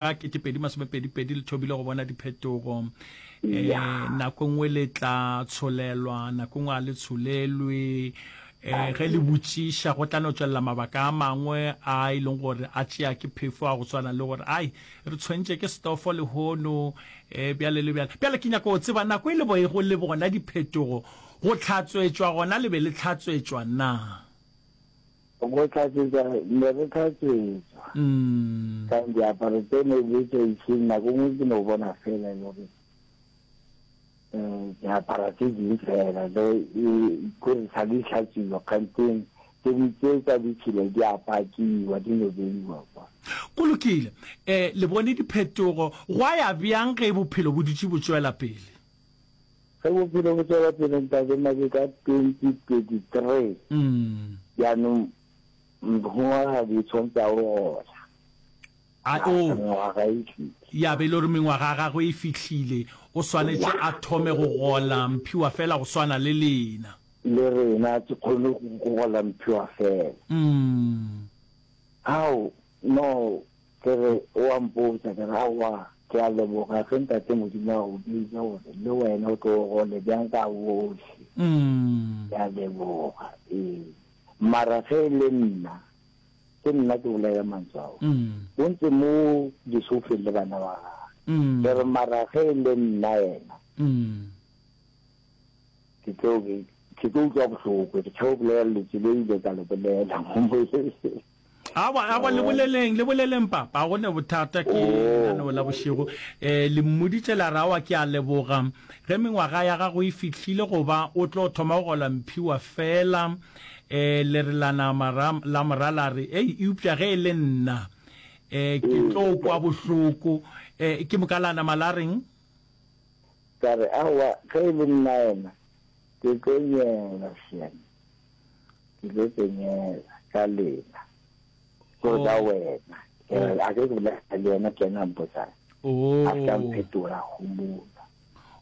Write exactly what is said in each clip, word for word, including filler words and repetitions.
Ketepedi masomepedi pedi le thomile go bona diphetogo. Um nako e nngwe le tla tsholelwa, nako e nngwe ga le tsholelwe. Um ge le botšiša go tla no tšwelela mabaka a mangwe a e leng gore a tšea ke phefo, a go swana le gore ai re tshwentše ke stofo lehono, um bjale le bjale. Bjale ke nyaka go tseba nako e le boego le bona diphetogo, go hlatswetšwa gona le be le hlatswetšwa na? Go hlatswetšwa, ne re hlatswetšwa. Ka diaparo tse ne di tswa išeng, nako nngwe ke no bona fela e le gore um diaparo tse dingwe fela le kore sa di hlatswiwa, kganteng tse di tse tsa ditšhila di a pakiwa, di no beiwa kwa. Go lokile. Um le bone diphetogo, gwa ya bjang ge bophelo bo dutše bo tšwela pele? Ge bophelo bo tšwela pele, Ntate Make, ka twenty twenty-three, jaanong mongwagadi o tshwanetse a o gola. A o. Mengwaga e tlile. Ya be e le gore mengwaga ya gagwe e fihlile, o swanetše a thome go gola mphiwa fela go swana le lena. Le rena ke kgone go gola mphiwa fela. Ao, no, Ke re, o a mpotša, ke re, Aowa, ke a leboga ge Ntate Modimo a go bitša gore le wena o tlo gole bjang ka bohle. Ke a leboga, ee. Mara ge e le nna, ke nna ke bolela mantswe ao. O ntse mo disofeng le bana ba gagwe. Ke re, mara ge e le nna yena, ke tlo be, ke tlo utlwa bohloko. Ke tšhaba go bolela lentswe le ile ka le bolela mo moyeng. Awa, awa, le boleleng, le boleleng, papa, go ne bothata, ke lenaneo la bošego. Eh, le mmoditše la re, awa, ke a leboga. Ge mengwaga ya gago e fihlile go ba o tlo thoma go gola mphiwa fela. Eh, le re la nama ra, la mora la re, ei, eupša ge e le nna, eh, ke tlo kwa bohloko. Eh, ke moka la nama la reng? Ka re, aowa, ge e le nna yena, ke tlo nyela, hleng. Ke tlo tsenyela ka lena, gore ka wena. A ke ke bolela le yena, ke yena a mpotsang. A se ka mphetola, a homola.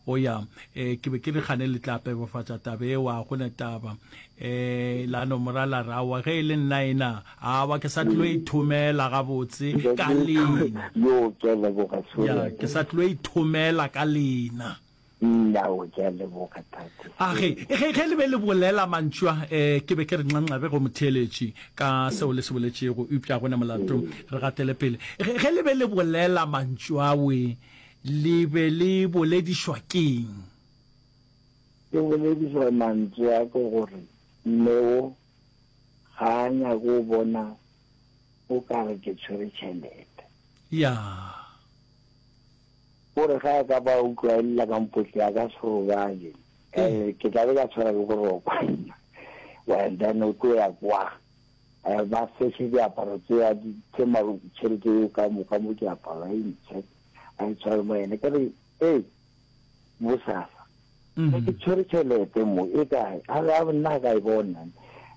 O ya, eh, ke be ke re gane le tla pebofatša taba eo, a go ne taba. Eh, la no mora la re, aowa, ge e le nna ena, aowa, ke sa tlilo ithomela gabotse ka lena. Yo, ke a leboga, Ya, ke sa tlilo ithomela ka lena. Nna o, ke a leboga, Tate. A ge, ge, ge le be le bolela mantšu a, eh, ke be ke re nxanxabe go motheeletši ka seo le se boletšego, eupša go ne molato. Re gatele pele. Ge, ge le be le bolela mantšu awe, le be le boledišwa ke'ng? Ke boledišwa mantšu a ke gore Neo ga a nyake go bona o ka re ke tshwere tšhelete. Ya. O re ge a ka ba utlwa e lla ka mpotle a ka se robale. Eh, ke tla be ka tshwara ke boroko. Well, then o tlo ya kwa. Eh, ba search diaparo tse a di tse maru tšhelete eo ka moka mo diaparo a e ntshe a e tshware mo yena. Ke re, ee, bosasa. Mm. Ke tshwere tšhelete mo e kae? A re a nna ka e bona.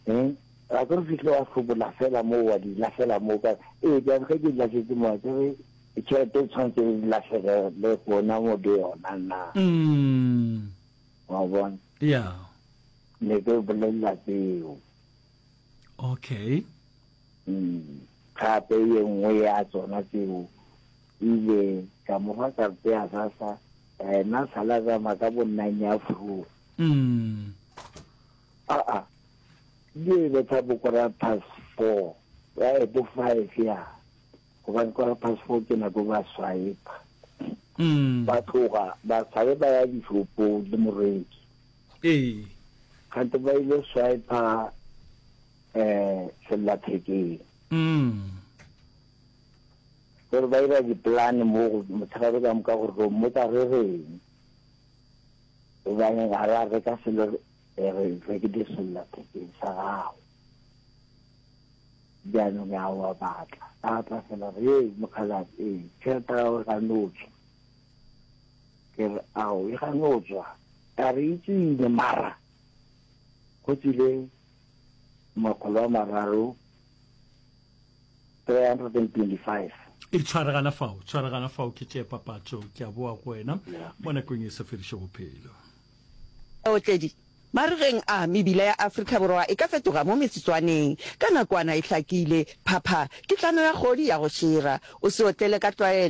Eh, a ke re fihle wa hlobola fela mo wa di lahlela mo ka. Ee, bjale ge ke di lahletse mo ke re tšhelete e tshwanetse e lahlege le gona mo le yona na. Mm. Wa bona? Yeah. Ne ke bolelela tseo. Okay. Mm. Gape ye nngwe ya tsona tseo ile ka mo fa karete ya SASSA ena sala tsamaya ka bo nine ya fru. Mm. Aa, di e betha bo quarter past four, eh, bo five ya. Gobane quarter past four ke nako ba swipe. Mm. Ba tloga ba sabe ba ya dishopong le moreki. Ee. Kgante ba ile swipe eh sellathekeng. Mm. Gore ba ira di-plan mo go motshegare ka moka gore ro mmotsa re reng. Gobane ga ra reka selo re re rekile sellathekeng sa gago. Bjanong ya wa batla. A tla fela re, ee, mokgalabje, ee, tšhelete ya gago e gane tswa. Ke re, ao, e gane tswa. A re e tswile mara go tswile makgolo a mararo, three hundred and twenty-five. E tshwaregana fao, tshwaregana fao, ke tšee papatšo, ke a boa go wena mo nakong e sa fedišego bophelo. Baotledi. Marigeng a, mebila ya Afrika Borwa e ka fetoga mo metsotswaneng. Ka nakwana e hlakile, phapha, ke tlano ya kgodi ya go šira. O se otlele ka tlwaelo.